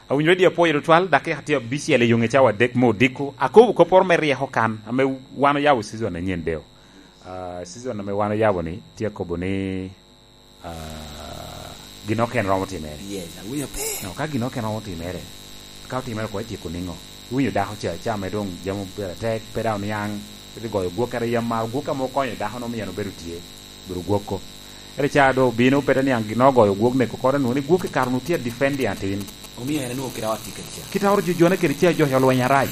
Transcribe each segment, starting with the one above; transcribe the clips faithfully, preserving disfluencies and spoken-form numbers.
Awinyo radio apwoyo tutwal, dakika tye abicel i yo nge cawa adek me odiko. Akobo kopporo me ryeko kan, ame wan oyabo season anyen deo. Ah, season ame wan oyabo ni, tye akobo ni, ah, gin ok en romo timere. Yes, awinyo pe. No, ka gin ok en romo timere, ka otimere ko etyeko niŋo? Iwinyo dako ca, ca me doŋ jami obedo atek, pe daŋ oniaŋ, pe goyo gwok, kara yam mar gwok ame okonyo dako no, omio en obedo tye. Bedo gwokko. Ere ca do obino, pe te niaŋ gin ogoyo gwok, neko kore, nwoŋo ni gwok i kare onwoŋo tye a defend atin. Omio en onwoŋo kite ot tye kede ca. Kite ot jo jone kede ca, jo olweny arac.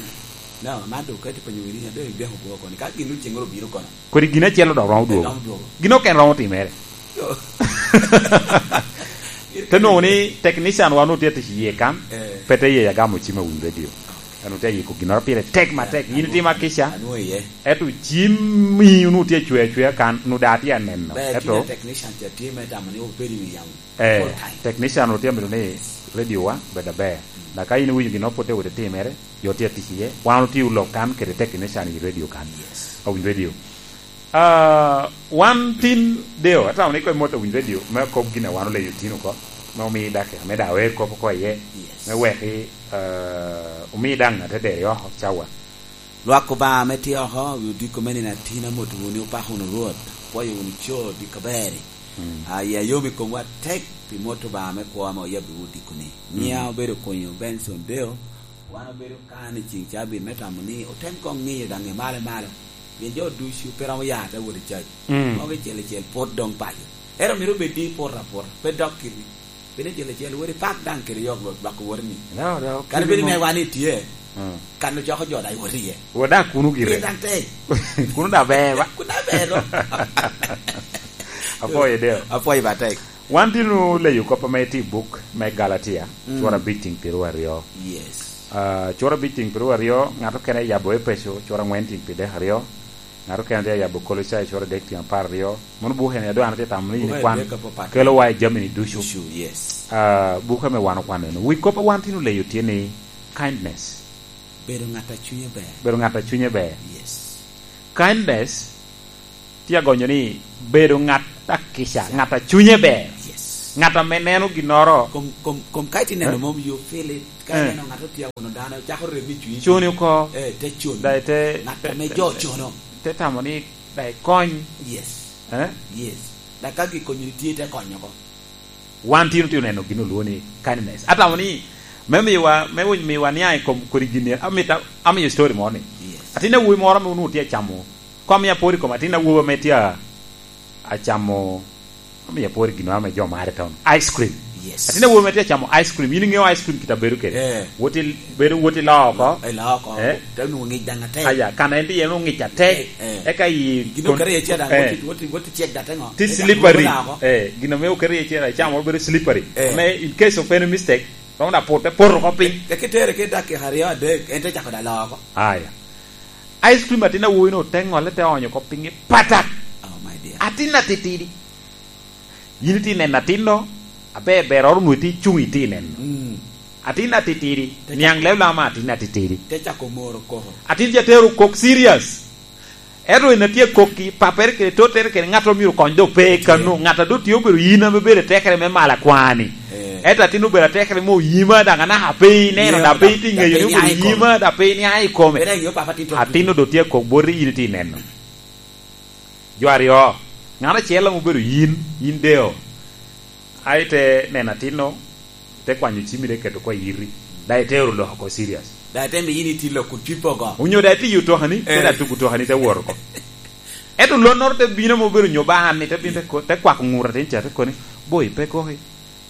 No, man do kati penyo wini, ado ideko gwok kono. Ka gin oceŋ obino kono. Kodi gin acel odok romo dwogo. Romo dwogo. Gin ok en romo timere. Yo. Te nwoŋo ni technician wa onwoŋo tye atic iye kan, eh, pe te ye agamo cim awinyo radio. En otye ayiko ginnoro pire tek matek. In itimo akica. Anwoŋo iye. Ento cimmi onwoŋo tye acwe acwea kan, onwoŋo daŋ atye aneno. Ber, ento tye technician ca tye me tamo ni obed i wi yamo. Eh, full time. Technician otye amito ni radio wa bed aber. Mm. Dok ka in iwinyo ginnoro pwod te wot itimere, jo tye atic iye, wan otye olok kan kede technician i radio kan. Yes. Awinyo radio. Ah, wan tin deo, atamo ni koŋ imot awinyo radio, me akob gin a wan oleyo tin oko, me omi dakika, me daŋ awer kop oko iye, yes, me wek i, ah, omi daŋ ŋat te deri oko, cawa. Lwak Obaŋa ame tye oko, wi odiko me nino atin, amoto wunu ni opako wunu Rwot, opwoyo wunu co odiko aber-ri. Mm. Ah, ya yom i komwa atek pi mot Obaŋa me kwo ame oyabbiwu odiko-ni. Mm. Nyiŋa obedo Okonyo Benson Deo, wan obedo kan i ceŋ cabit me tamo ni otem koŋ ŋiyo daŋ i malo malo, pien jo ducu pe romo ya te wot i cac. Mm. Mogo icel icel pwod doŋ paco. Ento myero obed ni ipoto aputa, pe dok kiti. Pien icel icel wot ipak daŋ kede yok Rwot lwak wot ni. No, no, kadi bed ni wan itye, mm, kan ocoko jo daŋ iwot iye. Wot daŋ kuno gire. Pien daŋ tek. Kuno daŋ ber, ba? Kuno daŋ ber, no? Apwoyo, Deo. Apwoyo matek. Wan tye nu leyo kop ame tye i buk me Galatia, mm, cwara abic tiŋ piero aryo. Yes. Ah, cwara abic tiŋ piero aryo, ŋat okene yabo Epeco, cwara angwen tiŋ pyeradek aryo, ŋat okene tye yabo Kolocai, cwara adek tiŋ apar aryo. Mano buk en, ado an atye tamo ni buk kwan adek apapat kelo wa i jami-ni ducu. Ducu, yes. Ah, buk ame wan okwano eno. Wi kop a wan tye nu leyo tye ni kindness. Bedo ŋat a cunye ber. Bedo ŋat a cunye ber. Yes. Kindness tye agonyo ni bedo ŋat akica, ŋat a cunye ber. Yes. Ŋat ame neno ginnoro. Kom, kom, kom ka itye neno, eh, mom you feel it. Ka, eh, ineno ŋat otye awuno dano, cako rem i cunyi. Cuni oko. Eh, te cuni. Daŋ ite, ŋat ame jo cono. Te tamo ni daŋ ikony. Yes. Eh? Yes. Daŋ ka gikonyo ni tye, ite konyo oko. Wan tin otye oneno gin olwoŋo ni kindness. Atamo ni me miwa, me winy miwa niaŋ i kom kodi gin ni, amito, amiyo story moro ni. Yes. Atin awobi moro ame onwoŋo tye acamo, kom ya pwod i kom atin awobi ame tye a-, acamo, amiyo pwod i gin ame jo mare town. Ice cream. Yes. Atin awobi ame tye acamo ice cream. In iŋeo ice cream kite a bedo kede? Eh. Wot i, bedo wot i loo oko. I loo oko. Eh. Te nwoŋo ŋic daŋ atek. Aya, kan en tye en oŋic atek. Eh, eh. Eka i gin okere iye ca daŋ, eh, wot i, wot i, wot i cek daŋ te ŋo? Ti slippery. Eh, gin ame okere iye ca, icamo bedo slippery. Eh. Ame in case of any mistake, romo daŋ put, te poto oko piny. Eka itere ki dakika aryo adek, en te cako daŋ loo oko. Aya. Ice cream atin awobi no te ŋolle, te onyo oko piny patak. Oh, my dear. Atin atitidi. Yin itye neno atinno, aber ber oro nwoŋo itye icuŋ itye neno. Mm. Atin atitidi, te niaŋ cako leb lama atin atitidi. Te cako moro koko. Atin ca tero kok serious. Ento en atye kok ki papere kede tottere kede ŋat omyero kony do pe kano. Ŋat a do tye obedo yin ame bedo atekere me malo akwani. Eh. Ento atin obedo atekere me oyima daŋ anaka pe ineno, daŋ pe itye ŋeyo ni obedo yima, daŋ pe iniaŋ i kome. Atin do tye kok boti yin itye neno. Jo aryo, ŋat acel ame obedo yin, yin deo, a ite neno atinno, ite kwanyo cimmi, ite keto oko i iti, daŋ ite oro lok oko serious. Daŋ ite miyo in iti lok kun cwippo oko. Onyo daŋ itiyo otokani, te, eh, daŋ tugo otokani, te wot oko. Ento lonnoro te bino ame obedo nyo ba an ni, te bino te ko-, te kwako ŋut atin ca, te koni, "Boy, pe koki."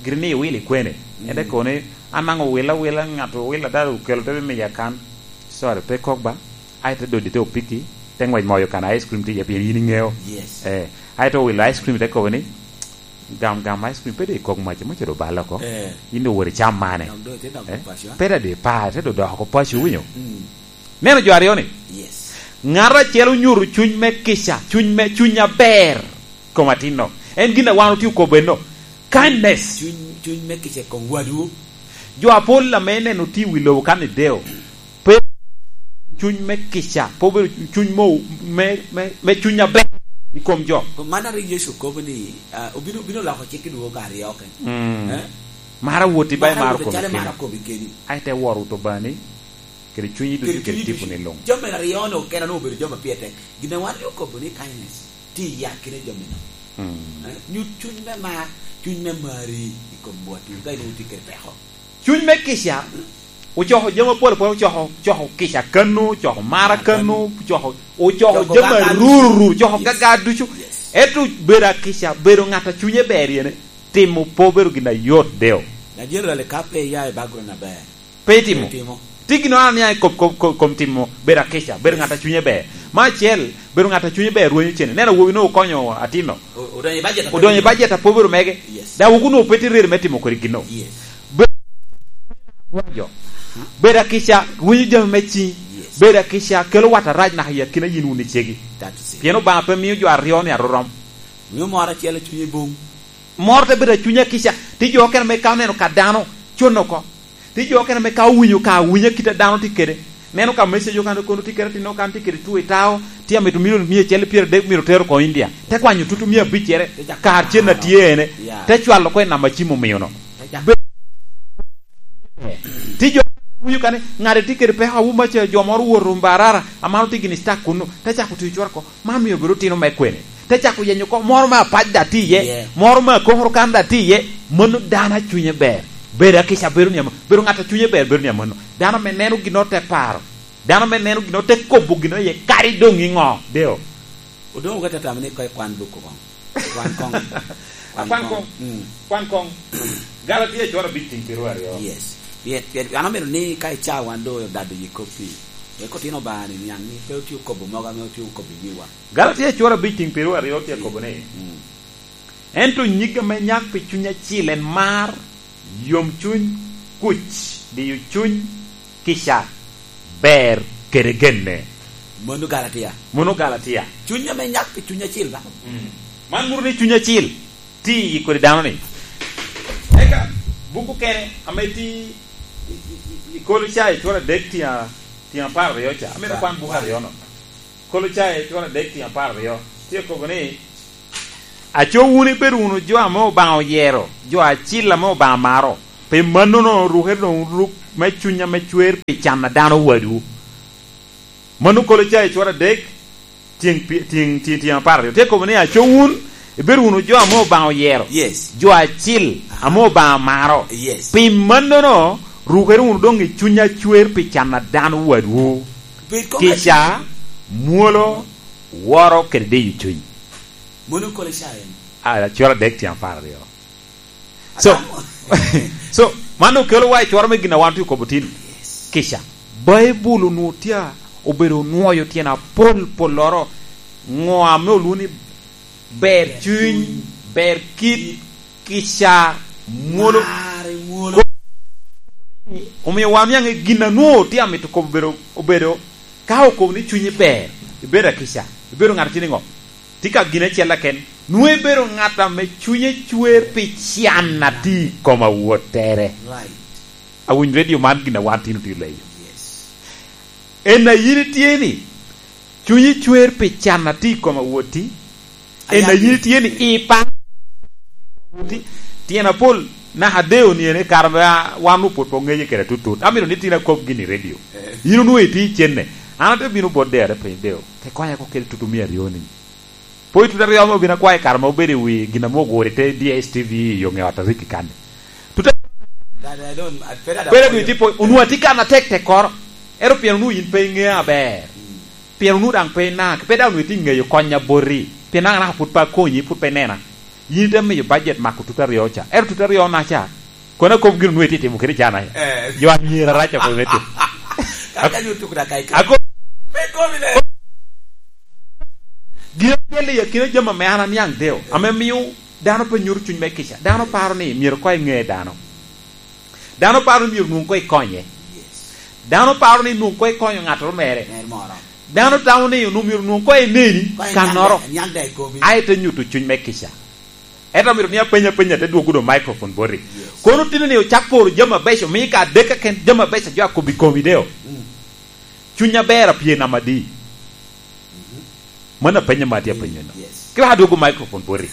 Gire ni iwilo i kwene? Mm. En te kono ni, "An daŋ owila awila, ŋat owila, dano okelo te bimiya kan." "Sorry, pe kok ba." Ai te dodi te opiki, te ngwec moyo kan ice cream tye iye, pien yin iŋeo. Yes. Eh, ai te owilo ice cream, te kobo ni, "Gam, gam ice cream, pe doŋ ikok mac, mac doŋ oballe oko. Eh. In doŋ wot icam mane." Dok doŋ ite dok, eh? Paco, eh? Pe doŋ di pa, te doŋ dok oko paco, winyo? Mm. Neno jo aryo ni? Yes. Ŋat acel onyuto cuny me kica, cuny me, cuny aber. Kom atinno. En gin a wan otye okobo enno. Kindness. Cuny, cuny me kica i kom wadwu. Jo apol ame neno tye i wi lobo kan i deo, pe cuny me kica, pe obedo cuny mo, me, me, me cuny aber i kom jo. Kom man a rik Yecu okobo ni, ah, obino, obino loko cik i dwogo ka aryo kene. Mm. Eh? Mar awoti ba imaro komi keni. Mar awoti calo imaro komi keni. Ai te woro wot Obaŋani, kede cunyi ducu, kede cunyi ducu, kede tiponi luŋ. Jami aryo-nu okene-nu obedo jami a pire tek. Gin a wan ri okobo ni kindness, tye i akina jami-nu. Mm. Eh, nyut cuny me mar, cuny me mari i kom watwu, ka inwoŋo tye kede peko. Cuny me kica ocoko jami apol apol, ocoko, ocoko kica kano, ocoko mara kano, ocoko, ocoko jami aruru, ocoko gaga ducu. Yes. Ento bedo akica, bedo ŋat a cunye ber yene, timo pe obedo gin a yot, deo. Najenerali ka pe iya i background aber. Pe itimo. Pe itimo. Ti gin wan aniaŋ i kom, kom, kom, kom timo, bedo akica, bedo ŋat a cunye ber. Me acel, bedo ŋat a cunye ber rwenyo cene. Neno awobi-nu okonyo atino. O-, odonyo i bajet a pe obedo mege. Yes. Daŋ wuku-nu pe tye ready me timo kodi gin-nu. Yes. Be-, jo. Bedo akica, winyo jami me ciŋ. Yes. Bedo akica, kelo wat arac naka i akina yin wun icegi. That is it. Pien Obaŋa pe mio jo aryo-ni arorom. Mio moro acel i cunye bum. Moro te bedo acunya kica, ti jo okene ame ka oneno ka dano, con oko. Ti jo okene ame ka owinyo ka awinya kit a dano tye kede, neno ka message okene kono tye kede, tinno kan tye kede two i tao, tye amito milion mia acel i pyeradek, myero tero oko India. Te kwanyo tutu mia abic cere, kar cen a tye ene, te cwalo oko i nam a cim omio-no. Be-, ti jo ame winyo kane, ŋat tye kede peko, awu maca jo moro owoto Mbarara, amano tye gini stuck kunnu, te cako tiyo cwara oko. Man myero obed otino me kwene. Te cako yenyo oko moro me apac daŋ tye iye, moro me akokoro kan daŋ tye iye. Mano dano a cunye ber. Bedo akica bedo ni ama-, bedo ŋat a cunye ber bedo ni amanno. Dano ame neno gino te paro. Dano ame neno gino te kobo gino iye kadi doŋ iŋo. Deo. Odoŋ oga tatamo ni koŋ ikwan buk koŋ. Kwan koŋ. Kwan koŋ. Mm. Kwan koŋ. Galatia cwara abic tiŋ piero aryo. Yes. Pien, pien, an amito ni ka ica wan doŋ odado yi koppi, wek otino Obaŋa ni niaŋ ni pe otye okobo mogo ame otye okobo i wiwa. Galatia cwara abic tiŋ piero aryo tye akobo ni, mm, ento nyig ame nyak pi Cuny Acil en mar, yomcuny, kuc, diyo cuny, kica, ber, kede genne. Mano Galatia. Mano Galatia. Cuny ame nyak pi Cuny Acil ba? Mm. Man muro ni Cuny Acil tye i kodi dano-ni. Eka, buku kene ame tye i, i, i, i Kolocayi cwara adek tye a-, tye apar aryo ca. Amito kwan buku aryo-no. Kolocayi cwara adek tye apar aryo. Tye kobo ni, "Aco wun ibedo wunu jo ame Obaŋa oyero, jo acil ame Obaŋa maro. Pi mannono, rukere doŋ ruk me cuny ame cwer pi can a dano wadwu." Mano Kolocayi cwara adek, tyeŋ pi-, tyeŋ, tyeŋ, tyeŋ apar aryo. Tye kobo ni, "Aco wun, ibedo wunu jo ame Obaŋa oyero, yes, jo acil ame Obaŋa maro. Yes. Pi mannono, rukere wunu doŋ i cuny acwer pi can a dano wadwu." Bed kong kica, acel, mwolo, woro, kede diyo cuny. Mano Kolocayi. Ah, cwara adek tyen apar aryo. So, so, man okelo wa i cwaro me gin a wan tye okobo tin. Yes. Kica. Baibul onwoŋo tye a-, obedo onwoyo tyen apol polloro. Ŋo ame olwoŋo ni ber cuny, ber kit, kica, mwolo. Mar, mwolo. Omio wan oniaŋ i gin a nwoŋo tye amito kobo obedo, obedo, ka okobo ni cunyi ber, ibedo akica, ibedo ŋat a tye niŋo? Tye ka gin acel keken, nwoŋo ibedo ŋat ame cunye cwer pi can a tye i kom awottere. Right. Awinyo redio man gin a wan tin otye leyo. Yes. En a yin itye ni, cunyi cwer pi can a tye i kom awotti, en a yin itye ni, i pa-, ti-, tyen apol, naka deo ni ene kare ame a-, wan opwod pe oŋeye kede atutut. Amito ni tin akob gin i redio. Eh. Yin onwoŋo itye i cenne. An ate bino bot deo, ate penyo deo, "Te konya ko kede tutu mia aryo ni." Po i tuta aryo ame obin akwayo i kare ma obedo i wi gin ame oguro i te D S T V i yo ŋe ot a Ricky kan-ni. Tuta, pera dwe tipo, onwoŋo atye kan atek tekkoro. Ento pien onwoŋo yin pe iŋea aber. Mm. Pien onwoŋo daŋ pe ina, pe daŋ onwoŋo itye iŋeyo kony a boti. Pien daŋ anaka pwod pe akonyi, pwod pe inena. Yin ite miyo bajet mako tuta aryo ca. Ento tuta aryo na ca, kono akobo gin onwoŋo itye timo kede cana. Eh. Jo anyira rac oko me timo. Kaka ni otuko da kai kai. Ako- Pe komi le. Gin acel i akina jami ame an aniaŋ deo, ame mio dano pe nyuto cuny me kica. Dano paro ni myero koŋ eŋe dano. Dano paro ni myero nwoŋ koŋ ikonye. Yes. Dano paro ni nwoŋ koŋ ikonyo ŋattoro mere. Mer moro. Dano tamo ni onwoŋo myero nwoŋ koŋ eneni koŋ inyal kannoro. Da-, inyal da i komi. Aye te nyuto cuny me kica. Ento amito ni apeny apenya, te dwogo doŋ microphone boti. Yes. Kono tino ni ocak poro jami abeco, mi ka adek keken jami abeco jo akobo i komi deo. Mm. Cuny aber apye namba adi? Mhm. Mano apenyo ma atye apenyo no. Yes. Kira adwogo microphone boti.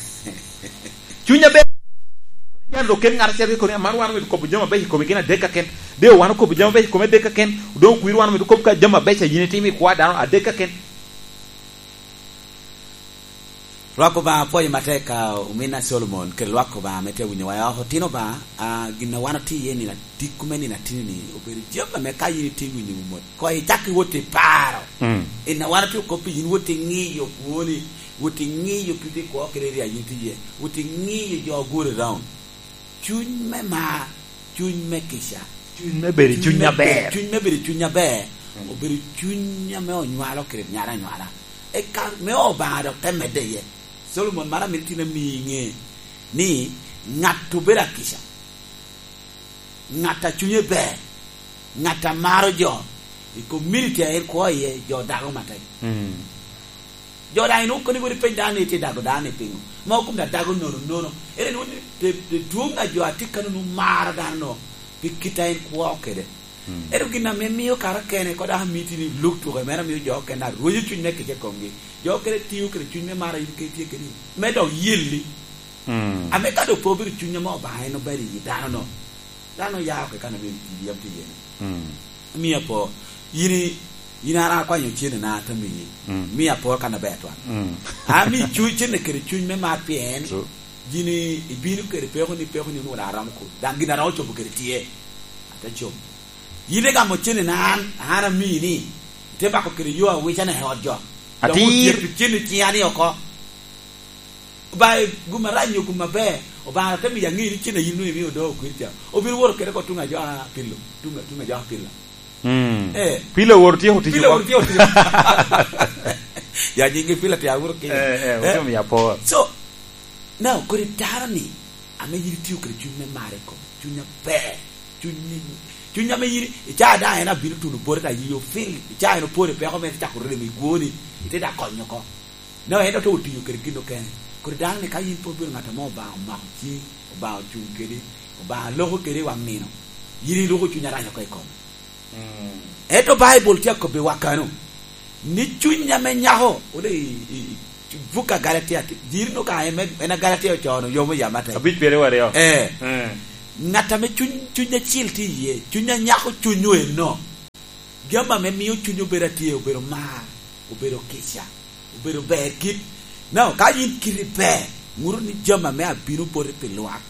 Cuny aber. Ento dok ket ŋat acel keken, amaro wan omito kobo jami abeco i kome gin adek keken. De wan okobo jami abeco i kome adek keken, doŋ okwir wan omito kobo ka jami abeco a yin itimo i kwo a dano adek keken. Lwak Obaŋa apwoyo matek ka ominna Solomon kede lwak Obaŋa ame tye awinyowa i oko. Otino Obaŋa, a, gin a wan otye iye nino atikko me nino atini-ni obedo jami ame ka yin itye winyo mot, koŋ icak iwot i paro. Mm. En a wan otye okop pi yin wot iŋiyo kwoni, wot iŋiyo kite i kwo kede area yin itye iye, wot iŋiyo jo ogure round. Cuny me mar, cuny me kica. Cuny me bedo i cuny cuny me aber. Cuny me bedo i cuny aber, mm, obedo cuny ame onywalo kede nyara anywala. Eka me Obaŋa dok te medde iye. Solomon, mano amito tin ami iŋe ni ŋat obedo akica, ŋat a cunye ber, ŋat a maro jo, i community a en kwo iye, jo dago matek. Mm. Jo daŋ inwoŋo koni wot ipeny dano ni itye dago dano ni piŋo? Ma okum da dago nono nono. Ere ni wot i te, te dwoŋ a jo a tye kano nwoŋo maro dano no pi kit a en kwo kede. Mm. Ento gin ame mio kara kene, kod aka miti ni luk tuko mere amio jo okene arweco cuny me kica i komgi. Jo okene tio kede cuny me maro in ke tye keni, me dok yelli. Mm. Ame ka dok pe obedo cuny ame Obaŋa en obedo i dano no, dano ya oko i kan ame yam tye iye-ni. Mm. Miya po, yin i-, yin ara akwanyo cene na atami. Mm. Miya po kan aber twal. Mm. Ami cu-, cene kede cuny me mar pien. True. Yin i-, ibino kede peko ni, peko ni onwoŋo daŋ aromo kuno. Daŋ gin aromo cobo kede tye. Ate cobo. Yin igamo cene na an, an ami ni, ite bako kede yo awicane i ot jo. Atir. Dok otyeto cene i ciŋa ni oko. Ba i gum arac nyo gum aber, Obaŋa te miyo aŋe ni cen a yin nwoŋo imio do okwir ca. Obino woto kede oko tuŋ a jo a pilo, tuŋ, tuŋ a jo a pila. Mm. Eh. Pilo woro tye otiyo. Pilo woro tye otiyo. Ya nyingi pila tye awuro ki. Eh, eh, eh, otiyo mi apor. So, now, kodi dano ni, ame yin itio kede cuny me mar i kom, cuny aber, cuny, cuny ame yin, i caa daŋ en abino tuno bote ta yi ofil, i caa en opore peko mere cako remo i gwoni, ite da konyo oko. No, en dok te otiyo kede gin okene. Kodi dano ni ka yin pe obedo ŋat ame Obaŋa omako ciŋi, Obaŋa ocuŋ kedi, Obaŋa loko kedi i waŋ nino, yin iloko cuny arac oko i kome. Mm. Ento Baibul tye akobbiwa kano, ni cuny ame nyako, ode i, i, i buk a Galatia, ti-, jiri no ka en me, en a Galatia ocoo-nu, yomo yam atek. Abic pyeraryo aryo. Eh. Eh. Ŋat ame cuny, cuny acil tye iye, cuny a nyako cuny-nu enno. Gin ame mio cuny obedo atye, obedo mar, obedo kica, obedo ber kit. Now, ka yin kiti ber, ŋuto ni jami ame abino boti pi lwak.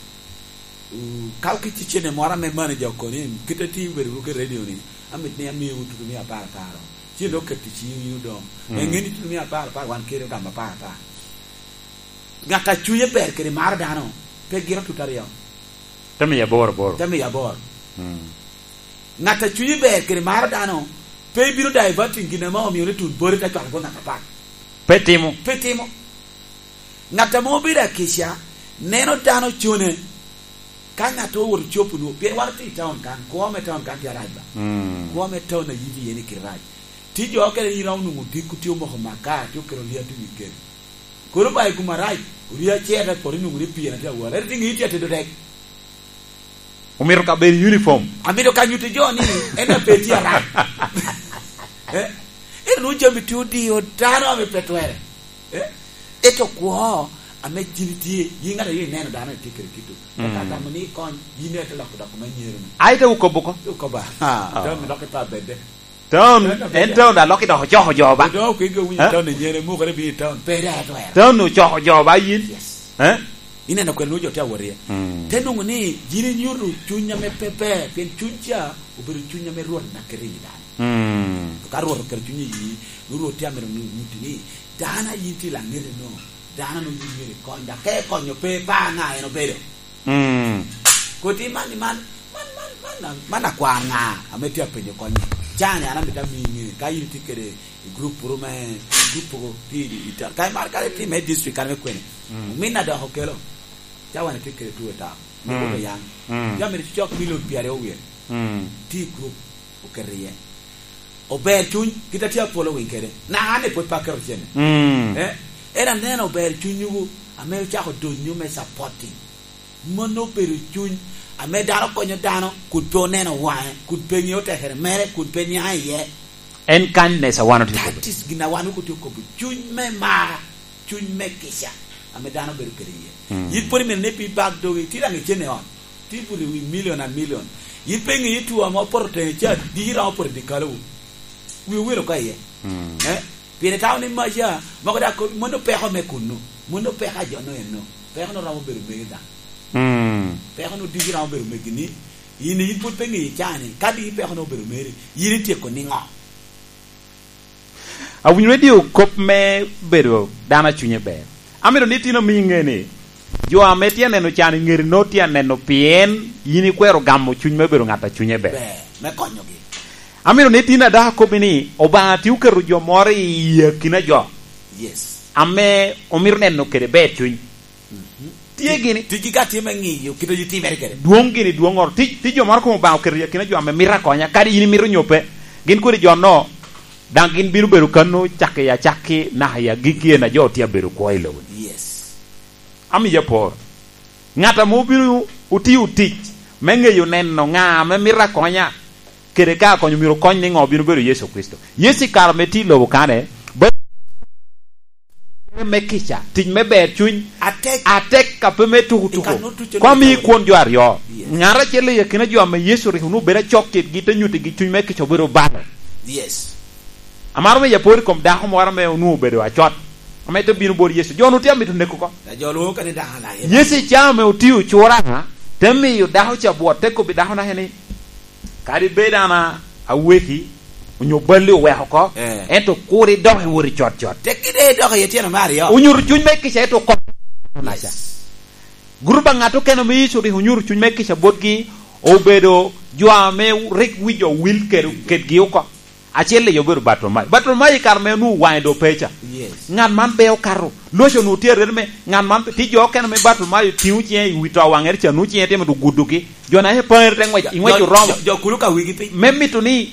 Uh, ka okicci cene moro ame manager okoni, kit a tye i bedo ruke radio ni, amit ni amiwu tutumia apar apar. Cen dok keto i ciŋ yin odoŋ. Mm. Ŋe ni tutumia apar apar, wan kede ogamo apar apar. Ŋat a cunye ber kede maro dano, pe giro tutu aryo. Te miyo aboro aboro. Te miyo aboro. Mm. Ŋat a cunye ber kede maro dano, pe bino diverting gin ame omio ni tun bori te cwalo bot ŋat apat. Pe timo. Pe timo. Ŋat ame obedo akica, neno dano cone. Ka ŋat owoto copo nwo, pien wan otye i taun kan, kwo me taun kan tye arac ba. Mm. Kwo me taun a yiti iye ni kite rac. Tye jo okene iromo nwoŋo odiko tye omoko makar, tye oketo liet i wi keno. Kono ba i gum arac, oria cer te poto nwoŋo ni pien atye awal. Ento tye ŋe itye atedo tek. Omito ka bedo uniform. Amito ka nyuto jo ni en a pe tye arac. Eh? Ento nwoŋo jami tye odiyo dano ame pe twere. Eh? Ento kwo ame jini tye, yin ŋat a yo ineno dano itye kede kito. Mm. Eka gamo ni ikony, yin ite loko dok me nyero ni. Ai te wukobo ko? Te wukobo. Ha, ah. Dano dok ipa bedde. Town, en town a lok idoko coko jo ba. Odoko kwegi owinyo. Eh? Town enyere, mukere bino i town. Pe daŋ atwero. Town ocoko jo ba yin. Yes. Eh? Ineno kwene nwoŋo jo tye awot iye. Mm. Te nwoŋo ni yin inyuto cuny ame pe ber, pien cuny ca obedo cuny ame Rwot na keto i dano. Mm. Ka Rwot oketo cuny i yi, nwoŋo Rwot tye amito nu-, nyutti ni, dano a yin tye laŋete no, dano no yin myero ikony, dok ka ikonyo pe, pe ŋa en obedo. Mm. Kodi man, man, man, man, man, man akwar ŋa ame tye apenyo kony? Cani an amito ami ŋe, ka in itye kede i group ru me, group ru tye i, i, i, ka imar kare tye me district kare me kwene. Mm. Ominna dok okelo. Ca wan itye kede two town. Me, mm, Bodo Yang. Mm. Tye amito cok milion pyeraryo wiye. Mm. Tye i group oketo iye. Ober cuny, kit a tye a following kede. Na an ni pwod pe aketo cene. Mm. Eh, en aneno ober cunywu, ame ocako donyo me supporting. Mano obedo cuny, ame dano konyo dano, kun pe oneno waŋe, kun pe ŋeo tekere mere, kun pe niaŋ iye. En kindness a wan otye kede. That is gin a wan otye okobo. Cuny me mar, cuny me kica. ame dano bedo kede iye. Mm. Yin pwod imito ni pi bak dogi, ti daŋ icen i ot, ti buto i wi milion a milion. Yin pe iŋeyo two ame opoto tenge ca, di romo poto i dikalowu. Wi owil oko iye. Mm. Eh? Pire tao ni maca, mogo daŋ kop, mano peko me kunnu. Mano peko a jo-nu enno. Peko-nu romo bedo megi daŋ. Mm. Peko-nu ducu romo bedo megi ni, yin, yin pwod pe ŋeyo icaa ni, ka di peko-nu obedo meri, yin ityeko niŋo? Awinyo radio kop me bedo dano a cunye ber. Amito ni tin omi iŋe ni, jo ame tye aneno can i ŋeri nongo tye aneno pien yin ikwero gamo cuny me bedo ŋat a cunye ber. Ber, me konyogi. Amito ni tin adako kobbi ni, Obaŋa tye oketo jo moro i akina jo. Yes. Ame omito neno kede ber cuny. Mhm. Tye gini. Ticgi ka tye me ŋiyo kit a yit timere kede. Dwoŋ gini dwoŋŋoro. Ti, ti jo moro komo Obaŋa oketo i akina jo ame mito akonya, kadi yin imito nyo pe. Gin kodi jo-no, daŋ gin bino bedo kano cakki i acakki naka i agikki, en a jo tye abedo kwo i lobo-ni. Yes. Amiyo apor. Ŋat ame obino otio tic me ŋeyo neno ŋa ame mito akonya, kede ka akonyo myero okony niŋo, bino bedo Yecu Kricito. Yecu i kare ame tye i lobo kane, ba-, me kica, tic me ber cuny, atek, atek a pe me tuku tuku. Kom i kwon jo aryo. Yes. Ŋat acel i akina jo ame Yecu rik onwoŋo bedo acok kitgi, te nyuttigi cuny me kica obedo balo. Yes. Amaro me yaporo i kom dako moro ame onwoŋo obedo acot, ame te bino bot Yecu. Jo-nu tye amito neko oko. A jo lwoŋo kede dako alaye. Yecu i caa ame otio cura, te miyo dako ca bwot, te kobbi dako naka ni, Kadi bed an a-, aweki, onyo balli oweko oko, eh, ento kur idok iwot i cot cot. Tekki de idok i etyeno me aryo. Onyuto cuny me kica, ento oko. Yes. Gurup a ŋat okene ame Yecu rik onyuto cuny me kica botgi, obedo jo ame rik wi jo wil ked-, kedgi oko. Acel i obedo Bartimayo. Bartimayo i kare me onwoŋo waŋe doŋ pe ca. Yes. Ŋat man be okato. Loco onwoŋo tye arete me, ŋat man, ti jo okene me Bartimayo tiŋo ciŋe i wi to waŋere ca, nwoŋo ciŋe tye mito gudogi. Jo na ye paŋere te ŋwec, i ŋwec oromo. Jo, jo, jo kulu ka wigi piny. Me mito ni,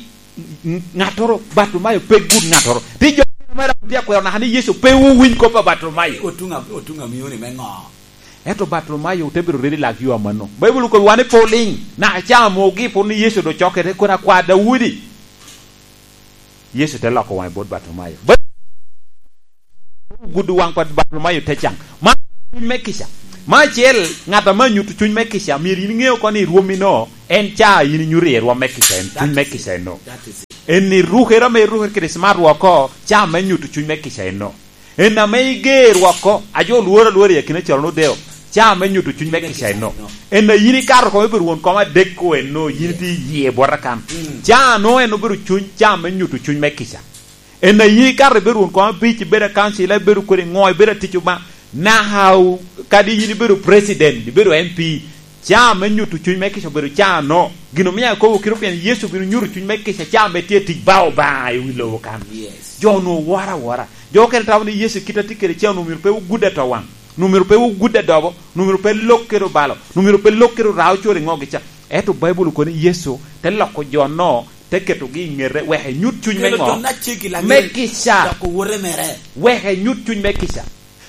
n-, ŋattoro, Bartimayo pe gud ŋattoro. Ti jo mere tye akwero naka ni Yecu pe owiny kop a Bartimayo. Otuŋ a-, otuŋ a mioni me ŋo? Ento Bartimayo te bedo ready lak yo amanno. Baibul okobbiwa ni pe oliŋ, naka ca mogi pwod ni Yecu doŋ cokke, te kono akwa Daudi. Yecu te loko waŋe bot Bartimayo. Ba-, gudo waŋ pa Bartimayo te caŋ. Man cuny me kica. Me acel, ŋat ame anyuto cuny me kica, myero in iŋe oko ni rwommi no, en ca yin inyuto iye rwom me kica, en cuny me kica eno. That is it. En irukere ame irukere kede smart work oko, ca me nyuto cuny me kica eno. En ame iger woko, a jo lworo alwora i akina calo nodeo, ca me nyuto cuny me kica eno. En a yin ikato kome pi rwon koma adek ko eno, yin itye iye bota kan. Mm. Ca no en obedo cuny, ca me nyuto cuny me kica. En a yin ikato ibedo rwon koma abic, ibedo akancila, ibedo kodi ŋo, ibedo atic Obaŋa, naka o-, kadi yin ibedo president, ibedo M P, ca me nyuto cuny me kica obedo ca no. Gin omio akobo kite pien Yecu obino nyuto cuny me kica ca me tye tic ba Obaŋa i wi lobo kan. Yes. Jo onwoŋo woro awora. Jo okene tamo ni Yecu kit a tye kede ca onwoŋo myero pe ogud ato waŋ, onwoŋo myero pe ogud adobo, onwoŋo myero pe lok kede obalo, onwoŋo myero pe lok kede orao coro i ŋogi ca. Ento Baibul okobo ni Yecu te loko jo-no, te ketogi i ŋete, wek enyut cuny me ŋo? Kelo jo-na ceggi laŋet, me kica. Dok owote mere. Wek enyut cuny me kica.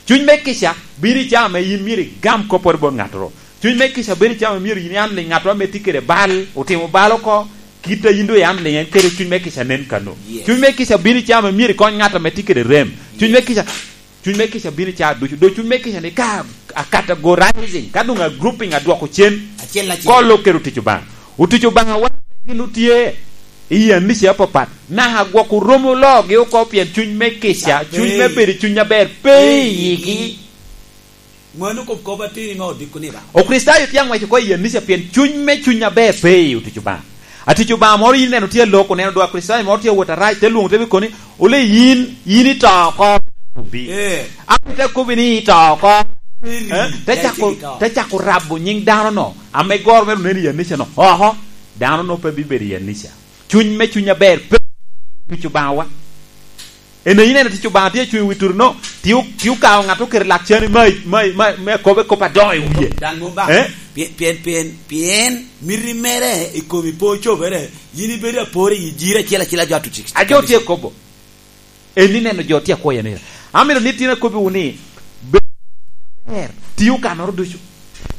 Cuny me kica bino i caa ame yin myero igam kopporo bot ŋattoro. Cuny me kica bino i caa ame myero yin ian liŋ ŋattoro ame tye kede bal, otimo bal oko, kit a yin doŋ ian liŋ en kede cuny me kica nen kano. Yes. Cuny me kica bino i caa ame myero ikony ŋat ame tye kede rem. Cuny me kica, cuny me kica bino i caa ducu. Doŋ cuny me kica ni ka a categorizing, ka doŋ a grouping, adwoko cen. Acel acel. Kolo kede otic Obaŋa. Otic Obaŋa wan gin otye i anica apapat, naka gwok oromo loogi oko pien cuny me kica, cuny me bedo cuny aber pe i yigi. Mano kop kop atir ame odiko ni ba. Okricitayo tye aŋwec oko i anica pien cuny me cuny aber pe i otic Obaŋa. Atic Obaŋa moro yin ineno tye alok, oneno dwa Kricitayo moro tye awot arac, te lwoŋo te bi koni, "Ole yin, yin ito oko." Obi. Eh. An te kobbi ni ito oko. Eh? Te cako, te cako rabo nyiŋ dano-no, ame goro mere onen i anica-no. Oho, dano-no pe bibedo i anica. Cuny me cuny aber pe tic Obaŋawa. En ayi neno tic Obaŋa tye cuny wi tutu-no, tye o-, tye okawo ŋat oketo lak cani ma, ma, ma, me kobe kop adoŋo i wie. Daŋ mom ba. Eh? Pien, pien, pien, pien miti mere i komi pe ocobere, yin ibedo apor i jiri acel acel a jo atuc. A jo tye kobo. En ni neno jo tye akwoyo ni. Amito ni tin akobbiwu ni, bed aber, ti okanoro ducu.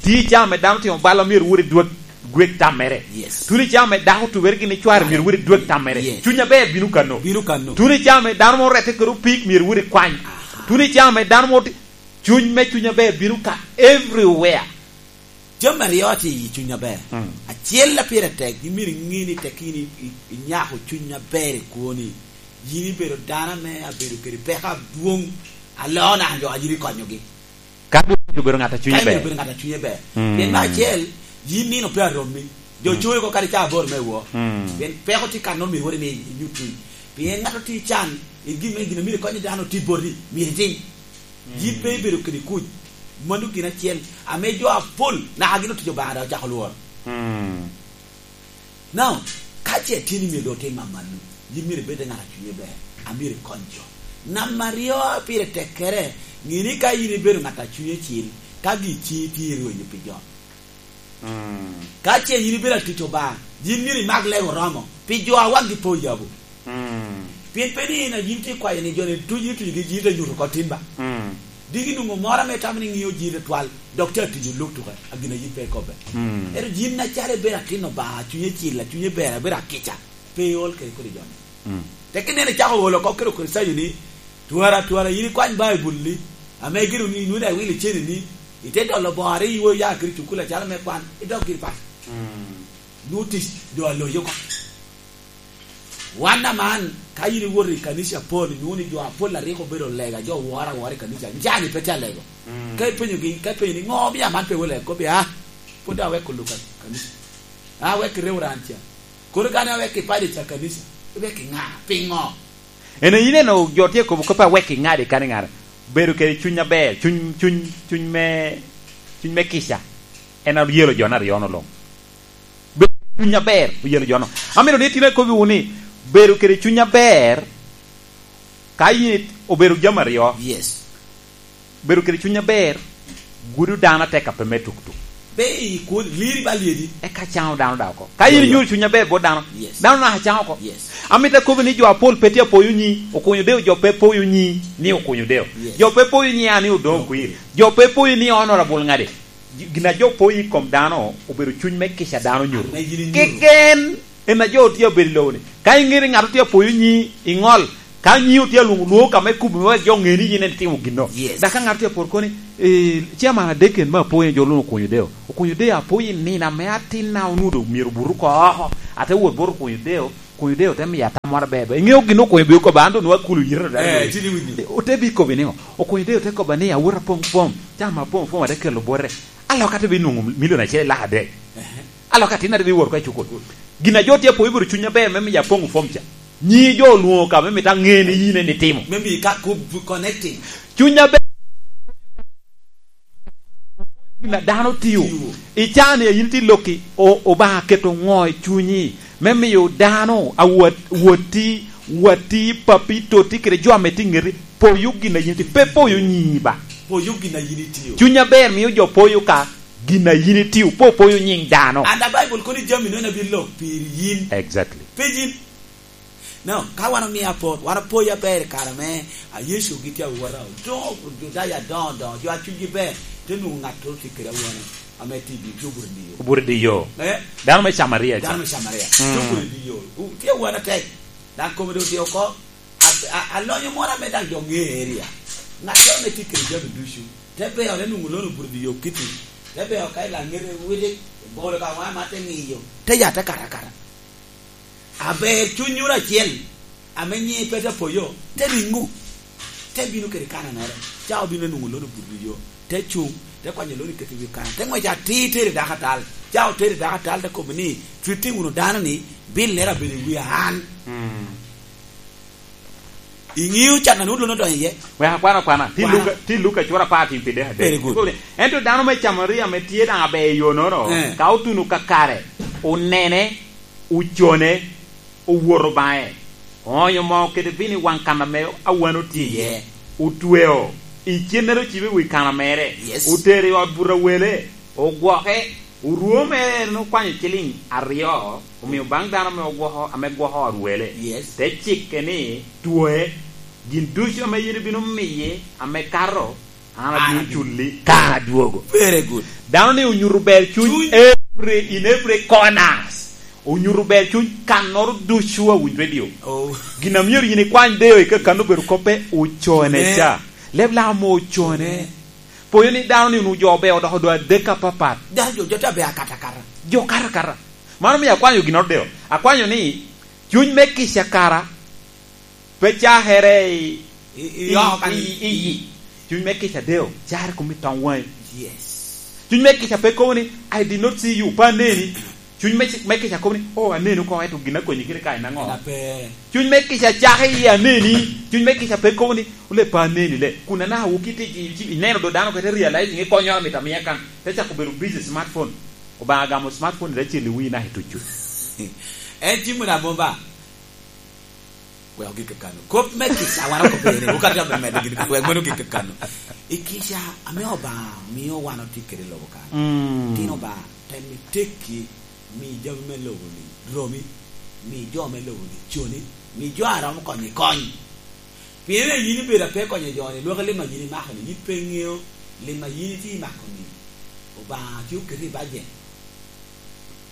Ti i caa ame dano timo bal, myero wot i dwek, dwek tammere. Yes. Tuno i caa ame dako tubere gin i cware, myero wot i dwek tammere. Yes. Cuny aber bino kano. Bino kano. Tuno i caa ame dano mo rette kede opik, myero wot i kwany. Aha. Tuno i caa ame dano mo ti-, Cuny me cuny aber bino ka everywhere. Jami aryo tye i cuny aber. Mm. Acel a pire tek, imito iŋe ni tek in i, i, inyako cuny aber i kwoni. Yin ibedo dano ame abedo kede peko adwoŋ, aloo naka jo a yin ikonyogi. Ka doŋ obedo ŋat a cunye ber. Ka obedo ŋat a cunye ber. Mm. Pien me acel, yin nino pe aromi. Jo coyo oko kadi ca aboro me woo. Mm. Pien peko tye kan nongo myero wot imi inyut cuny. Pien ŋat otye can, i gin me, gin a myero ikony dano tye boti, myero itim. Mm. Yin pe ibedo kede kuc. Mano gin acel ame jo apol naka gin otic Obaŋa dok ocako lworo. Mm. Now, ka ce tye ni myero doŋ otim amanno, yin myero ibed ŋat a cunye ber, a myero ikony jo. Namba aryo a pire tekkere, ŋe ni ka yin ibedo ŋat a cunye cil, ka gin ciŋi tye i rwenyo pi jo. Mm. Ka ce yin ibedo atic Obaŋa, yin myero imak lego romo pi jo a wagi pe oyabo. Mm. Pien pe ni in a yin tye kwayo ni jo-ni tuc, ituc gi yin te nyuto oko tin ba. Mm. Diki nwoŋo moro ame tamo ni ŋio yin atwal, dok te atiyo luk tuke, a gin a yin pe ikobbe. Mm. Ento yin acalo ibedo atin Obaŋa, a cunye cil, a cunye ber, abedo akica, pe iol kede kodi jo-ni. Mm. Tek ineno icako olo oko kede Okricitayo-ni, twara, twara, yin ikwany Baibul-li, ame gire ni inwoni awilo ceni-ni, ite dolo bore, iwo ya kede cukul acalo me kwan, idok giri paco. Mm. Nwoŋo tic doŋ aloyi oko. Wan aman, ka yin iwoto i kanica apol, inwoŋo ni jo apol a rik obedo lega, jo woro awora i kanica, n-, cani pe tye alego. Mm. Ka ipenyogi, ka ipenyo ni, "Ŋo omio aman pe wot lego?" Kobbi, "Ah, pwod aweko luk ka-, kanica. Ah, aweko reverend ca. Kono ka ne aweko i parish ca kanica, iweko i ŋa? Piŋo?" Ene, ineno jo tye kobo kop awek i ŋadi kadi ŋat, bedo kede cuny aber, cuny, cuny, cuny me, cuny me kica, en oyelo jo-ni aryo-nu luŋ. Bedo kede cuny aber oyelo jo-nu. Amito ni tin akobbiwu ni, bedo kede cuny aber, ka yin obedo jami aryo. Yes. Bedo kede cuny aber gudo dano atek ape me tuktuk. Pe i kwon, liri ba lyedi. Eka caŋo dano daŋ oko. Ka yin Yo, yo. inyuto cuny aber bot dano, Yes. dano naka caŋo oko. Yes. Amito akobbi ni jo apol pe tye apoyo nyi, okunyo deo, jo pe poyo nyi ni okunyo deo. Yes. Jo pe poyo nyi a ni odoŋ okwir. Jo pe poyo ni honorable ŋadi. Gin a jo poyo i kom dano obedo cuny me kica dano nyuto. Ame yin inyuto. Keken. En a jo tye abedo i lobo-ni. Ka iŋeo ni ŋat tye apoyo nyi, iŋol. Ka nyi otye alwoŋo, lwoŋo ka me kubo me wek jo ŋe ni yin en itimo ginno. Yes. Dok ka ŋat tye aporo koni, "Eh, chairman adek en me apoyo, jo luŋ okunyo deo. Okunyo deo apoyo i nino ame atinna onwoŋo myero obuto oko oko. Ate wot bot okunyo deo, okunyo deo te miyo atam moro aber aber." Iŋeo gin okunyo bino kobba, an doŋ nwoŋo akulu yito dano. Eh, tye ni winyo. Ote bi kobbi niŋo? Okunyo deo te kobba ni, "Awot apoŋ fom, chairman apoŋ fom ate kelo bote." Alok ate bi nwoŋo milion acel i lak adek. Ehe. Alok atin ate bi wot oko i cukul. Gin a jo tye apoyo bedo cuny aber me miyo apoŋ fom ca. Nyi jo olwoŋo ka me mito aŋe ni yin en itimo. Me miyo ka ku-, connecting. Cuny aber. Gin a dano tio. Tio. I caa-ni a yin tye lokki, o-, Obaŋa keto ŋo i cunyi me miyo dano a wot-, wotti, watti, papi, totti kede jo ame tye i ŋeti, poyo gin a yin tye, pe poyo nyi ba. Poyo gin a yin itio. Cuny aber mio jo poyo ka gin a yin itio, pe opoyo nyiŋ dano. And the Bible kono jami nono abin lok piri yin. Exactly. Pe yin. No, ka wan omio apor, wan opoyo aber i kare me, a, Yecu gitye awota, odoŋo Judaya adoŋo doŋo, jo a cunygi ber, te nwoŋo ŋat tye kede awano, ame tye i dye obuto i dye yo. Obuto i dye yo. Eh? Dano me Camaria ca. Dano me Camaria. Mm. Te obuto i dye yo. U-, tye awano atek. Dok kome doŋ odye oko. A, a, alonyo moro ame daŋ jo ŋeo area. Ŋat ame tye kede jami ducu. Te beo, te nwoŋo lono obuto i dye yo kiti. Te beo ka i laŋete witi, bolo ka waŋe ma te ŋiyo. Te ya te kato akata. Aber cuny wunu acel, ame nyiŋe pe te poyo, te riŋo, te bino kede kananere. Ca obino nwoŋo lono obuto i yo, te cuŋ, te kwanyo lono i keti wi kana, te ŋwec atir tero i dako atal. Ca otero i dako atal, te kobbe ni, "Twiti wunu dano-ni, bilere abedo i wi an." Mm. Iŋeo can a nwoŋo dwon odonyo iye? Wek akwan akwana. Ti Kwana. Luka, ti Luka cura apar tin pi dek adek. Very good. Ento dano me Camaria ame tye daŋ aber i yo-nono, Eh. ka otuno kakare, onene, ocone, owoto baŋe, oonyo moo kede vino i waŋ kan ame awano tye iye, Iye. otweo, i cennere ocibe i wi kana mere, Yes. otero i ot buto awele, ogwoke, orwo mere en okwanyo ciliŋ aryo, omio baŋ dano ame ogwoko, ame gwoko ot wele, Yes. te cikke ni, "Twoe, gin ducu ame yin ibino miye ame kato, an abino An abino. culli ka an adwogo." Very good. Dano ni onyuto ber cuny Cuny. every, in every corners. Onyuto ber cuny kannoro ducu a winyo radio. Oh. Gin a myero yin ikwany deo i kakano obedo koppe ocone Ne. ca. Leb Lamo ocone. Ne. Poyo ni dano ni onwoŋo jo obe odoko dwe adek apapat. Dano jo, jo te be akato akata. Jo kato akata. Mano omio akwanyo ginnoro deo. Akwanyo ni cuny me kica kara pe cakere i, I, i, i, oko kan i, i, i. Cuny me kica deo, cakere kom i toŋ waŋi. Yes. Cuny me kica pe kobo ni, "I did not see you," pe aneni. Cuny me, me kica kobo ni, "Oh, aneni oko, ento gin akonyi kede ka en aŋo?" Gin ape. Cuny me kica cako i aneni. Cuny me kica pe kobo ni, "Ole pe aneni le." Kun anaka wuki ti, ti, ti, ineno do dano kete realizing i konyo amito amiya kan. Te cako bedo busy smartphone. Obaŋa gamo smartphone i acel i wii naka i tucu. En cimo na bomba. Wek ogik kakano. Kop me kica wan okop ene, okato jo me medo gin, wek mano ogik kakano. I kica ame Obaŋa mio wan otye kede i lobo kan. Mm. Tin Obaŋa, tem i tekki, mi jami me lobo-ni romi, mi jo me lobo-ni coni, mi jo a romo konyo ikony. Pien yin ibedo ape konyo jo-ni, lwak lim a yin imako-ni, yin pe iŋeo lim a yin itye imako-ni. Obaŋa tye oketi i bajet.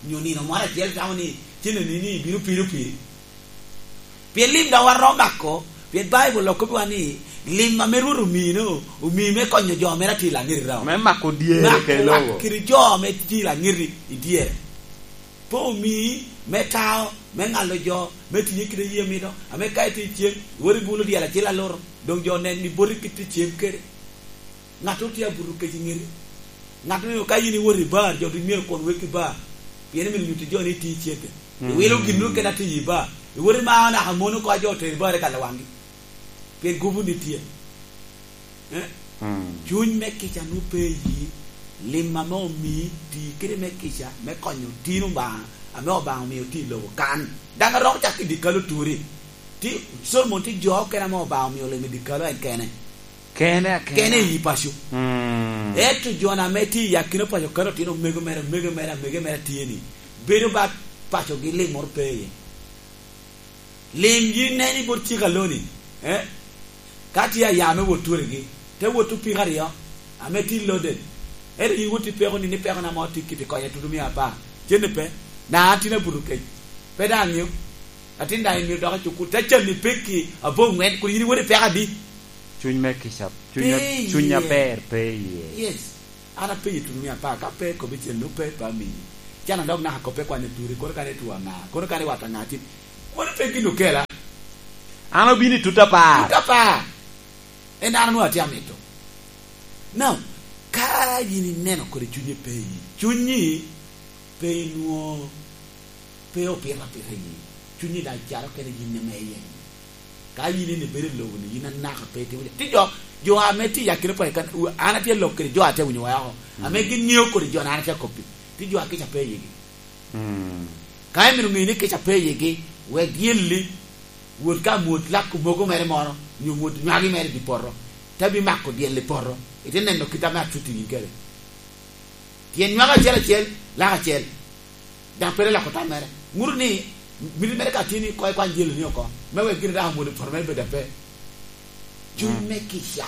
Nyo nino moro acel tamo ni cenneni ni bino piro piri. Pien lim daŋ wan romo mako, pien Baibul okobbiwa ni lim ame Rwot omino, omii me konyo jo mere atye i laŋeti daŋ. Me mako dyere Mako kede lobo. Wat kede jo ame tye i laŋeti i dyere. Pe omii me tao, me ŋalo jo, me tiye kede yie mito, ame ka itye i cem, iwot ibulo dyel acel aluto, doŋ jo nen ni boti kit i cem kede. Ŋat otye abuto kec i ŋeti. Ŋat oneno ka in iwot i bar, jo ducu myero okon wek i bar. Pien imito nyutti jo ni itye i cente. Mm. Iwilo gin nwoŋo kene atye i bar. Iwot imao naka mon oko a jo otero i bar i kalo waŋgi. Pien gubu ni tye. Eh? Mm. Cuny me kica nwoŋo pe iyi, lim ame omii, ti kede me kica, me konyo tin Obaŋa, ame Obaŋa omio tye i lobo kan. Daŋ aromo cako i dye kalo turi. Ti, Solomon tye jo okene ame Obaŋa omio limo i dye kalo en kene. Kene akena. Kene i paco. Mm. Ento jo-na ame tye i akina paco kano otino omego mere, omego mere, amege mere tye ni, bedo ba pacogi lim moro pe iye. Lim yin nen i bot cik aloni, eh? Ka tye aya me wot turigi, te wot opiko aryo, ame tye loaded. Ento yin wot ipeko ni, ni peko na mo tye kiti konye tutu mia apar. Cente pe, na an tin abuto kec. Pe daŋ aŋeo. Atin daŋ imito dok i cukul. Te canni pekki aboŋwen, kun yin iwot ipeko adi? Cuny me kica, cuny a-, Pe cuny iye. Aber pe iye. Yes. An apenyi tuno mia apar, ka pe kobbi cen, nwoŋo pe, pe amiyi. Can adok naka kop pe kwan i turi, kono kan itwo aŋa, kono kan iwato aŋa tin. Mano pe gin okela. An obino i tut apar. Tut apar. En an onwoŋo atye amito. Now, ka yin ineno kodi cunyi pe iyi, cunyi pe inwoŋo Pe opito apita i yi. Cunyi daŋ caro kene yin ame iye. Ka yin en ibedo i lobo-ni, yin anaka pe itimo jo. Ti jo, jo ame tye i akina paco kan, u-, an atye lok kede jo ate winyo wa oko. Mm. Ame gin ŋeo kodi jo-na an atye akoppi. Ti jo a kica pe i yigi. Mm. Ka imito ŋeyo ni kica pe i yigi, wek dyelli, wot ka mwod lako mogo mere moro, nyo mwod nywagi mere i dye poto, te bimako dyel i poto, ite neno kit ame atutti yin kede. Pien nywako acel acel, lak acel. Daŋ pe loko tam mere. Ŋuto ni, miti mere ka tye ni koŋ ikwany dyeloni oko, me wek gin daŋ omwodo poto mere bed ape. Cuny Mm. me kica.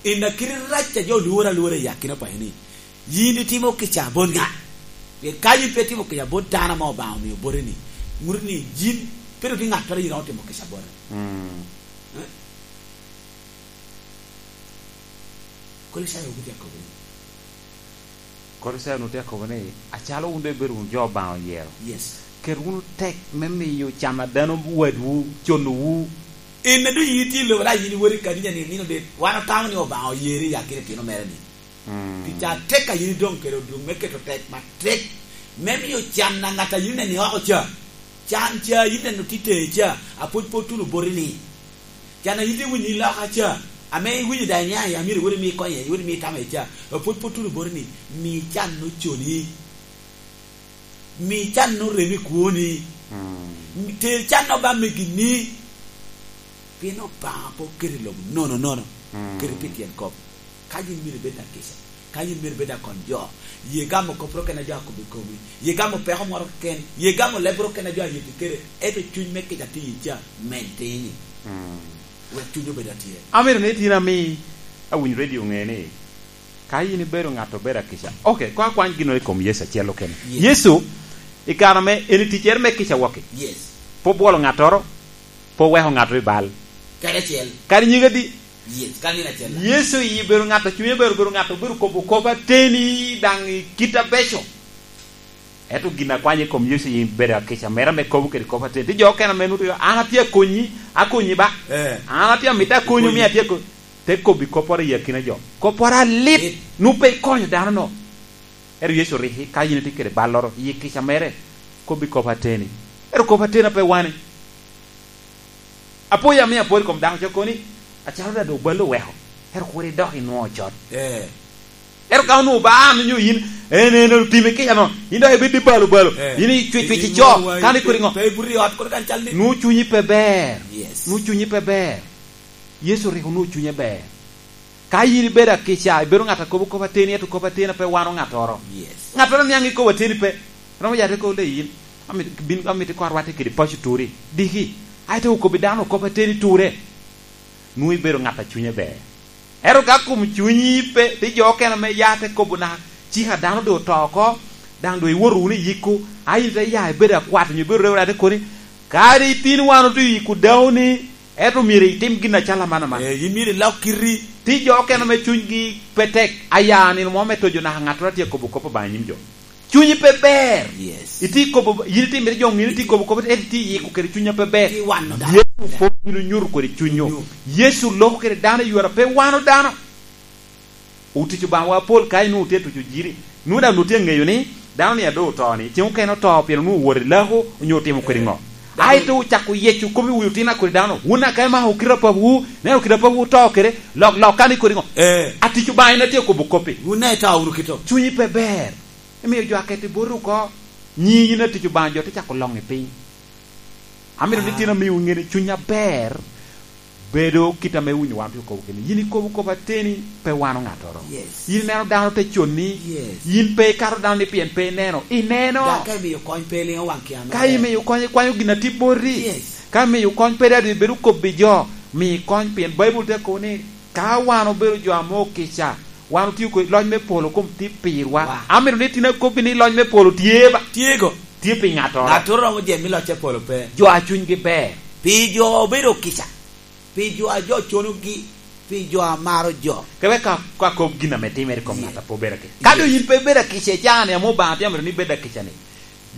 En a kite rac a jo lworo alwora i akina paco ni, yin itimo kica bot ŋa? Pien ka yin pe itimo kica bot dano ame Obaŋa omio boti ni, ŋuto ni yin pe dok tye ŋattoro yin iromo timo kica bote. Mm. Eh? Kolicayo wun tye akobo ni. Kolicayo wun tye akobo ni, acalo wun doŋ ibedo wunu jo Obaŋa oyero. Yes. Ket wunu tek me miyo can a dano wadwu conowu. En a doŋ yin itye i lobo, dok yin iwot i kanisa ni nino dit. Wan otamo ni Obaŋa oyeri i akina itino mere ni. Mm. Tic atek a yin idoŋ kede odwoŋ me keto tek matek me miyo can a ŋat a yin ineno oko ca. Can ca yin ineno tye teye ca, apwod pe otuno boti ni. Can a yin tye winyo i loka ca, ame iwinyo daŋ iniaŋ i amiro iwot imi konye, iwot imi tamo iye ca, apwod pe otuno boti ni, mi can oconi. Mi can orem i kwoni. Mm. Ter can oba megi ni. Pien Obaŋa pe oketo i lobo nono nono. Mm. Kede pi tyen kop. Ka yin myero ibed akica, ka yin myero ibed akony jo, ye gamo kop ro kena jo akobo i komi, ye gamo peko moro keken, ye gamo leb ro kena jo ayeti kede, ento cuny me kica tye i ca, meny tini. Mm. Wek cuny obed atye. Amito ni tin ami awiny radio ŋe ni, ka yin ibedo ŋat obedo akica. Ok, koŋ akwany ginnoro i kom Yecu acel okene. Yes. Yecu, i kare ame en i ticcere me kica waki. Yes. Pe obwolo ŋattoro, pe oweko ŋattoro i bal. Kadi acel. Kadi nyige di, Yes, ka nino acel. Yecu i bedo ŋat a cunye bedo, bedo ŋat obedo kobo kop ateni daŋ i kit abeco. Ento gin a kwanyo i kom Yecu i bedo akica mere ame kobo kede kop ateni. Ti jo okene ame nuto, "An atye akonyi, akonyi ba. Eh. An atye amito akonyo, mi atye ako-," te kobbi kopporo i akina jo. Kopporo alit, nu pe ikonyo dano no. Ento Yecu rik, ka yin itye kede balloro, i kica mere, kobbi kop ateni. Ento kop ateni pe wani. Apoya ame apol i kom dako ca koni, "Acalo dada obalo oweko, ento kur idok inwoŋo ocot." Eh. Ento ka onwoŋo ba an onyo yin, en, en otimi kica no, yin dok ibed i balo balo, eh, yin icwec cwec ico, ico, kan ikodi ŋo? Pe ibuto i ot kono kan cal ni. Nwoŋo cunyi pe ber. Yes. Nwoŋo cunyi pe ber. Yecu rik onwoŋo cunye ber. Ka yin ibedo akica, ibedo ŋat a kobo kop ateni, ento kop ateni pe wano ŋattoro. Yes. Ŋattoro niaŋ ikobo ateni pe. Romo yate ko le yin. Amit-, bin, amito iko arwatte kede paco turi. Diki. Aeto okobbi dano kop ateni ture. Nwoŋo ibedo ŋat a cunye ber. Ento ka kom cunyi pe, ti jo okene ame ya te kobo naka, cika dano doŋ oto oko, daŋ doŋ iwoto wunu i yikku, a yin ite ya ibedo akwat, onyo ibedo rewere, ate koni, kadi tin wan otye i yikku daŋ ni, Ento myero itim gin acalo aman aman. Eh, yin myero ilok kiti. Ti jo okene ame cunygi pe tek, aya nino mo me tojo naka ŋattoro atye kobo kop Obaŋa i nyim jo. Cunyi pe ber. Yes. Itye kobo, yin itye mito jo ŋini itye kobo kop, ento itye yiko kede cunya pe ber. Itye wano dano. Yecu pwod bino nyuto kodi cunyo. Cunyo. Yecu loko kede dano i yore a pe wano dano. Otic Obaŋawa apol ka inwoŋo tye tuco jiri. Nwoŋo daŋ nwoŋo tye ŋeyo ni dano ni a doŋ oto ni, ceŋ okene oto pien onwoŋo owoto i lako onyo otimo kodi ŋo. Dano. Aeto ocako yeco kop i wi otina kodi dano. Wun aka imako kite a papawu, neno kite a papawu oto kede, lok, lok kan ikodi ŋo? Eh. Atic Obaŋa en atye kobo kop-pi. Wun daŋ ito wunu kito. Cunyi pe ber. Imiyo jo akete boti oko. Nyi yin atic Obaŋa jo te cako loŋ i piny. Amito ni, ah, tin amiwu ŋe ni cuny aber bedo kit ame winyo wan otye okobo kene. Yin ikobo kop ateni, pe wano ŋattoro. Yes. Yin ineno dano te conni, yes, yin pe ikato dano ni pien pe ineno. Ineno. Dok ka imiyo kony pe iliŋo waŋ kia mere. Ka imiyo kony, ikwanyo gin atye boti. Yes. Ka imiyo kony pe daŋ ibedo kobbi jo, mi kony pien Baibul te kobo ni ka wan obedo jo ame okica, wan otio kodi loc me polo kom tye pirwa. Wa. Amito ni tin akobbi ni loc me polo tye ba? Tye go. Tye pi ŋattoro. Ŋattoro romo jemi loc me polo pe. Jo a cunygi ber. Pi jo obedo kica. Pi jo a jo conogi. Pi jo a maro jo. Kebe ka, ka kop gin ame timere i kom, yeah, ŋat a pe obedo akica. Ka doŋ, yes, yin pe ibedo akica i caa-ni, ame Obaŋa tye amito ni ibed akica-ni,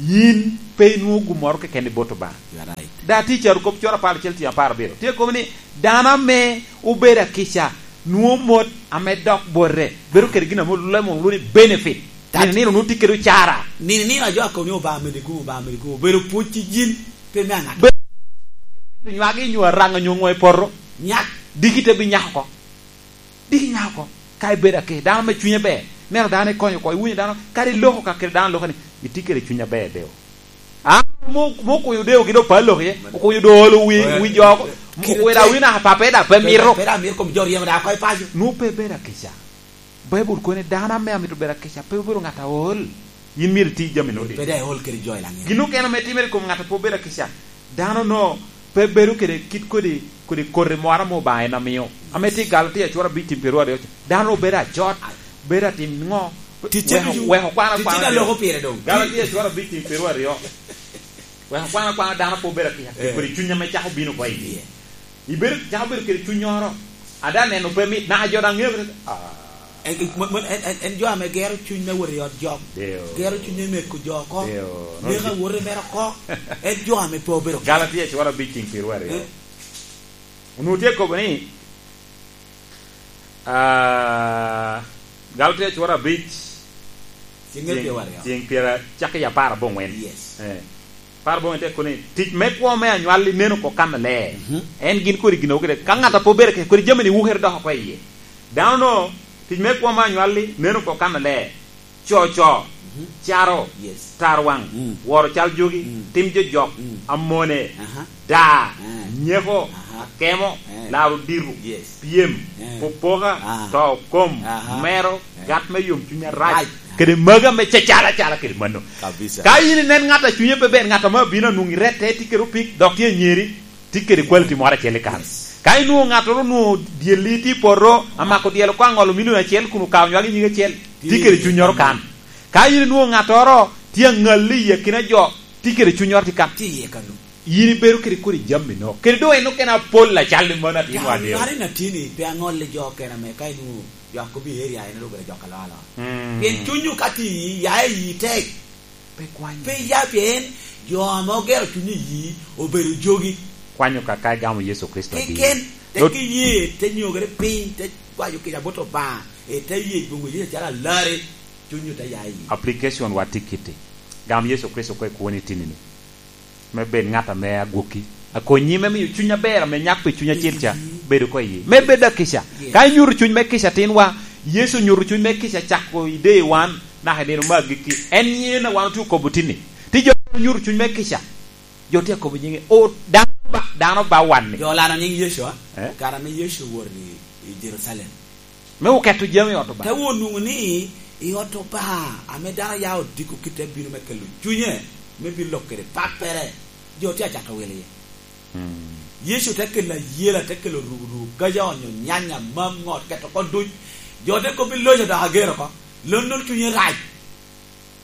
yin pe inwoŋo gin moro keken i bot Obaŋa. You are right. Daŋ tye i carokop coro apar acel, tye apar abiro. Tye kobo ni, dano ame obedo akica nwoŋo mot ame dok bote, bedo kede gin ame olule mom lwongo ni benefit. That. Nino nino nwoŋo tye kede ocara. Nino nino a jo akobo ni Obaŋa medi gumo, Obaŋa medi gumo. Obedo pwod ci yin, pe me aŋato. Be-, nywagi nyo araŋa nyo ŋo i poto. Nyak. Diki te bi nyak oko. Diki nyak oko. Ka ibedo ake, dano me cunye ber. Neno dano ikonyo oko, iwinyo dano, kadi iloko ka kede dano loka ni, itye kede cuny aber deo. A, mo-, mo okunyo deo gi do palo iye, okunyo do olo wi, wi jo oko. Mo okunyo da wina papa da pe mito. Pe da mito kom jo ryemo da ko i paco. Nu pe bedo akica. Baibul kono ni dano ame amito bedo akica, pe obedo ŋat aol. Yin myero iti jami nodi. Pe da iol kede jo i laŋet. Gin okene ame timere i kom ŋat a pe obedo akica. Dano no pe bedo kede kit kodi, kodi koti moro ame Obaŋa en amio. Ame tye i Galatia cura abic tim pyeraryo aryo. Dano obedo ajot, bedo atim ŋo? Ticce weko, ducu, weko kwana ticce kwana da dano. Loko pire doŋ. Galatia cura abic tim pyeraryo aryo. Weko kwana kwana dano pe obedo akica, eh, kodi cuny ame cako bino oko i yie. Ibedo, cako bedo kede cunnyoro. Ada neno pe mit, naka jo daŋ ŋeo kede, ah. En, en, en, en, en jo ame gero cuny me wot i ot jok. Deo. Gero cuny me meko jo oko. Deo. Neko awote mere oko. En jo ame pe obedo. Galatia cura abic tim pyeraryo aryo. Eh. Onwoŋo tye kobo ni, ah, Galatia cura abic, ceng, ceng pyeraryo aryo. Ceng pyera-, cakki i apar aboŋwen. Yes. Eh. Apar aboŋwen te kobo ni, tic me kwo me anywalli nen oko kan aler. Mhm. En gin kodi gin okede. Ka ŋat a pe obedo kede, kodi jami-ni wukere dok oko i yie. Dano no, tic me kwo me anywalli nen oko kan aler. Coco, mhm, caro, yes, tarwaŋ, mm, woro cal jogi, mm, tim jojok, mm, amone, aha, daa, eh, nyeko, aha, akemo, eh, laro dito, yes, pyem, eh, popoka, ah, to kom, aha, mero, eh, gat me yomcuny arac, arac, kede magi ame cacala acala kede mano. Kabisa. Ka in inen ŋat a cunye pe ber, ŋat ame abino anwoŋo irette, tye kede opik, dok tye anyeri, tye kede quality moro acel i kan. Yes. Ka inwoŋo ŋattoro onwoŋo dyelli tye i poto, amako dyel oko aŋolo milion acel kun okawo nywagi nyig acel, tye kede cunnyoro kan. Ka in inwoŋo ŋattoro tye aŋalli i akina jo, tye kede cunnyoro tye kan. Tye iye kan. Yin ibedo kede kodi jami no. Kede doŋ en okene apol acal i mano atin wadeo. Ŋat en atini pe aŋolle jo okene ame ka inwoŋo jo akobo i area en ru obedo jok alwala. Mm. Pien cunywu ka tye i yi, ya i yi tek. Pe kwanyo. Pe ya pien jo ame ogero cuny i yi obedo jogi. Kwanyo kaka igamo Yecu Kricito adi? Keken, tek iye, te nyogere piny, te kwayo kica bot Obaŋa, ite ye boŋo Yecu acalo alarre, cunywu te ya i yi. Application wa tye kiti. Gam Yecu Kricito oko i kwoni tinini. Me bed ŋat ame agwokki. Akonyi me miyo cuny aber ame nyak pi cuny acel ca, bedo oko i yi. Me bed akica. Yes. Ka inyuto cuny me kica tinwa, Yecu onyuto cuny me kica cako i day one, naka i nino me agikki. En nyen a wan otye okobo tinni. Ti jo onyuto cuny me kica. Jo tye akobo nyiŋe. O, dano ba, dano ba wanni. Jo olano nyiŋ Yecu, a? Eh? Kare ame Yecu owoto i, i Jerucalem. Me oketo jami i ot Obaŋa. Te wot nwoŋo ni i ot Obaŋa, ame dano ya odiko kite bino me kelo cunye, me bino lok kede pappere, jo tye acato wil iye. Mm. Yecu te kelo ayela, te kelo rurukaja, onyo nyanya, mam, ŋot, keto oko duc. Jo te kobbi loco dok ager oko. Lon nono cunye rac.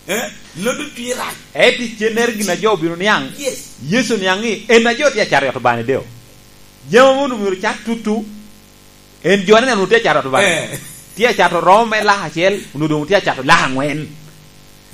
Eh? Lon nono cunye rac. Eti cennere gin a jo obino niaŋ. Yes. Yecu niaŋ ni en a jo tye acato i ot Obaŋa ni deo. Jami mono myero cat tutu. En jo aneno tye acato tuba. Eh. Tye acato romo me lak acel, onwoŋo doŋ tye acato lak aŋwen.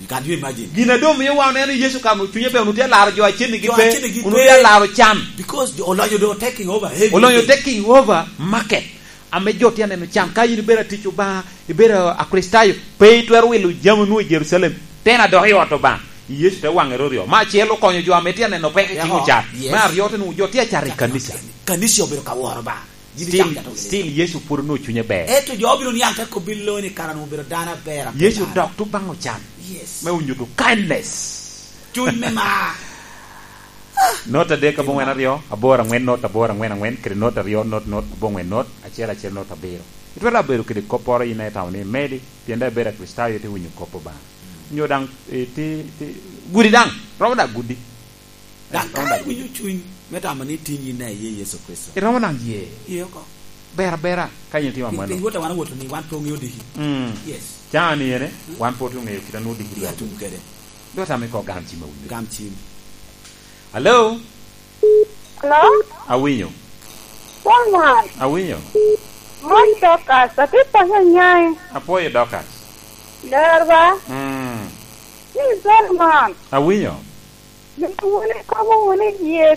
You can you imagine? Gin a doŋ mio wa oneno Yecu ka onwoŋo cunye ber, onwoŋo tye alaro jo acennigi pe, onwoŋo tye alaro can. Because olonyo doŋ taking over everything. Olonyo taking over market. Ame jo tye aneno can, ka in ibedo atic Obaŋa, ibedo Akricitayo, pe itwero wilo jami onwoŋo i Jerucalem, tena dok i ot Obaŋa. Yecu te waŋere oryo. Me acel okonyo jo ame tye aneno peko i cik ocat. Yes. Me aryo te nwoŋo jo tye acato i kanica. Kanica obedo ka woro Obaŋa. Still, still Yecu pwod onwoŋo cunye ber. Ento jo obino niaŋ te kobbi lo ni kara onwoŋo obedo dano aber, aber. Yecu dok tuŋ baŋ ocan. Yes. Me onyuto kindness. Cuny me mar. Not adek aboŋwen aryo, aboro aŋwen not, aboro aŋwen aŋwen, kede not aryo not, not aboŋwen not, acel acel not abiro. Itwero bedo kede kopporo in a itamo ni imedi, pien daŋ ibedo Akricitayo ite winyo kop Obaŋa. Nyo daŋ, eh, ti, ti, gudi daŋ, romo daŋ gudi. Daŋ ka iwinyo cuny me tamo ni tin yin a iye Yecu Kricito. Iromo daŋ ye. Ye oko. Ber abera, ka yin itimo amanno. Piny wot a wan owoto ni wan pe oŋeo diki. Mm. Yes. Caŋ ni ene, mm, wan pe otye oŋeyo kit a nwoŋo diki. Iya tum kede. Dok tamo iko gam cim awinyo. Gam cim. Hello? Hello? Awinyo. Solomon. Awinyo. Mon Dorcas, atye pwonyo nyai. Apwoyo Dorcas. Ler ba? Mm. Ni Solomon. Awinyo. Ni wun ikobo wunu i yie